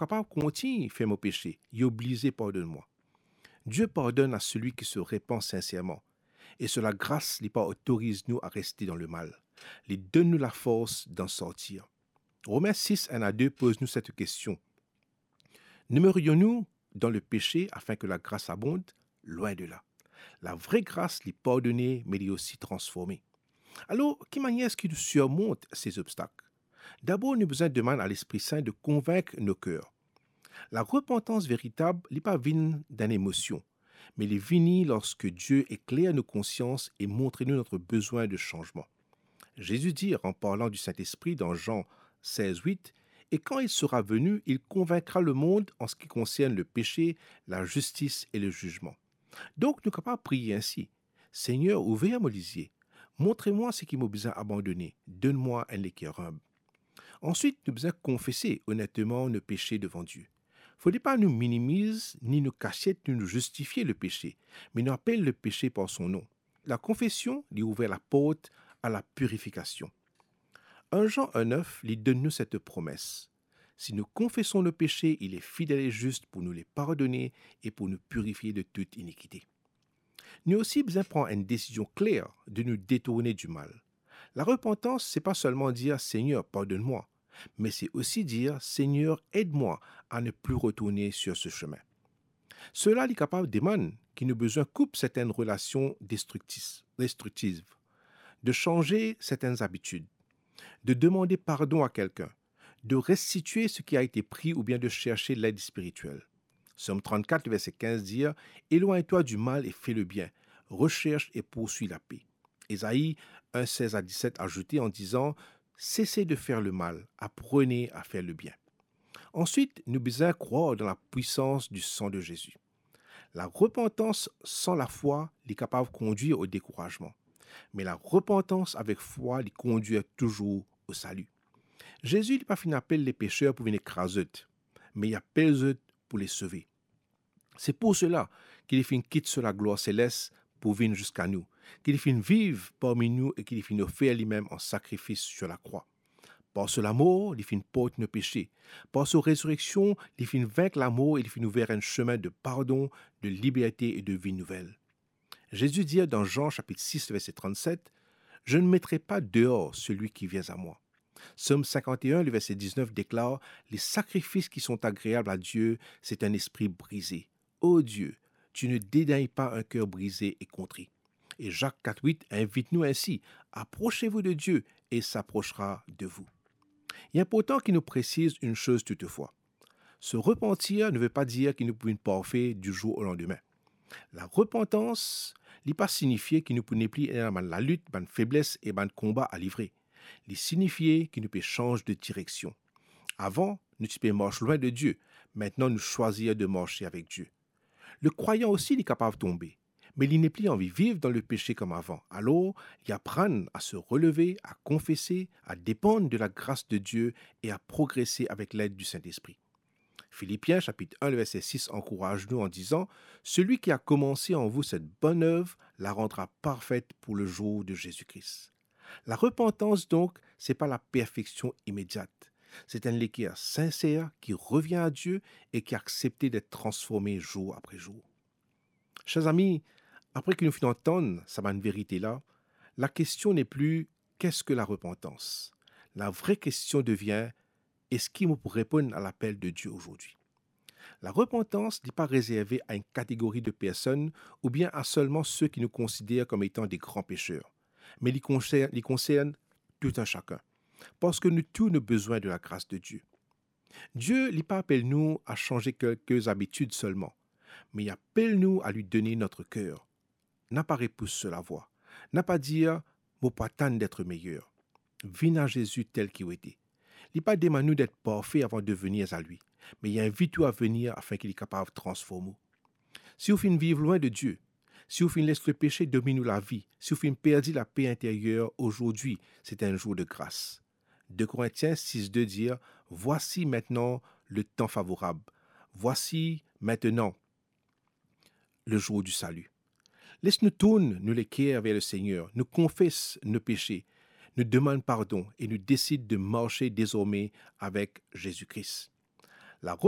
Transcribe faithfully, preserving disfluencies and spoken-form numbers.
kapav kontign fer mo pese, li oblize pardonn mwa. Dieu pardonne à celui qui se repent sincèrement, e so lagras li pa otoriz nou a reste dan lemal. Li donn nou lafors d'en sortir. Romains six, un à deux poz nou set kestion. Demeurions-nous dans le péché afin que la grâce abonde ? Loin de là. Lavre gras li pardone, me li osi transforme. Alor, ki manier eski nou sirmont se zobstak? Dabor, nou bizin demann a Lespri Sin de konvink nou ker. Larepantans veritab, li pa vinn dan emosion, me li vini lorske Dieu ekler nou konsians e montre nou notre besoin de changement. Jésus dit, en parlant du Saint-Esprit dans Jean seize huit, et quand il sera venu, il convaincra le monde en ce qui concerne le péché, la justice et le jugement. Donk, nou kapav priye insi, Seigneur, ouver mo lizie, montre mwa seki mo bizin abandone, donn mwa enn leker inb. Answit, nou bizin konfese onetman nou pese devan Dieu. Fode pa nou minimiz, ni nou kasiet, ni nou zistifie le pese, me nou apel le pese par son nom. Lakonfesion, li ouver laport a la pirifikasion. Un Jean un neuf, li donn nou set promes. Si nou konfeson nou pese, il est fidèle et juste pour nous les pardonner et pour nous purifier de toute iniquité. Nou osi bizin pran enn desizion kler de nou detourne dimal. Larepantans, se pa selman dir, Seigneur, pardonn mwa, me se osi dir, Seigneur, ed mwa a ne pli retourne sur se chemin. Sela li kapav demann ki nou bizin koup sertenn relasion destriktis-, destriktiv, de sanze sertenn zabitid, de demande pardon a kelkenn, de restitie seki a ete pri oubien de serse led spiritiel. Psaume trente-quatre, verset quinze dir, Éloigne-toi du mal et fais le bien, recherche et poursuis la paix. Ésaïe un, seize à dix-sept azoute an dizan, Cessez de faire le mal, apprenez à faire le bien. Answit, nou bizin krwar dan lapwisans di san de Zezi. Larepantans san lafwa, li kapav kondwir o dekourazman. Me larepantans avek fwa, li kondwir touzour o sali. Zezi, li pa finn apel lepeser pou vinn ekraz zot, me li apel zot pou les sove. Se pou sela ki li finn kit so laglwar seles pou vinn ziska nou, ki li finn viv parmi nou e ki li finn ofer limem an sakrifis sir lakrwa. Par so lamor, li finn port nou pese. Par so rezireksion, li finn vink lamor e li finn ouver enn semin de pardon, de liberte e de vi nouvel. Zezi dir dan Zan sapit sis, verse trannset, Je ne mettrai pas dehors celui qui vient à moi. Psaume cinquante et un, le verset dix-neuf déclare, Les sacrifices qui sont agréables à Dieu, c'est un esprit brisé. Ô Dieu, tu ne dédaignes pas un cœur brisé et contrit. E Zak kat wit invit nou insi, Approchez-vous de Dieu et il s'approchera de vous. Li inportan ki nou presiz enn soz toutefwa. Se repantir ne ve pa dir ki nou pou vinn parfe di zour o landime. Larepantans, li pa sinifie ki nou pou nepli ena bann lalit, bann febles e bann konba a livre. Li sinifie ki nou pe sanz de direksion. Avan, nou ti pe mars lwin de Die, aster nou swazir de marse avek Die. Lekrwayan osi, li kapav tonbe, me li nepli anvi viv dan lepese kouma avan. Alor, li aprann a se releve, a konfese, a depann de lagras de Die e a progrese avek led di Sintespri. Filipien sapit enn, le verse sis ankouraz nou an dizan, Celui qui a commencé en vous cette bonne œuvre la rendra parfaite pour le jour de Jésus-Christ. Larepantans, donk, se pa laperfeksion imediat. Se enn leker sinser ki revien a Die e ki aksepte det transforme zour apre zour. Ser zami, apre ki nou finn antann sa bann verite la, lakestion nepli, "Qu'est-ce que la repentance?" Lavre kestion devien, "Eski mo pou reponn a lapel de Die ozordi?" Larepantans, li pa rezerve a enn kategori de personn oubien a selman se ki nou konsider kom etan de gran peser, me li konser-, li konsern tou enn sakenn, parski nou tou nou bizin de lagras de Die. Die, li pa apel nou a sanze kelke zabitid selman, me li apel nou a li done nou ker. Na pa repous so lavwa. Na pa dir, "Mo pou atann det meyer." Vinn a Zezi tel ki ou ete. Li pa demann nou det parfe avan de vini a li, me li invit ou a vini afin ki li kapav transform ou. Si ou finn viv lwin de Die, si ou finn les lepese domin ou lavi, si ou finn perdi lape interyer, ozordi, se enn zour de gras. De Korintien sis de dir, "Voici maintenant le temps favorable. Voici maintenant le jour du salut." Les nou tourn nou leker ver Lesegner, nou konfes nou pese, nou demann pardon e nou desid de marse dezorme avek Zezi Kris. Larep-,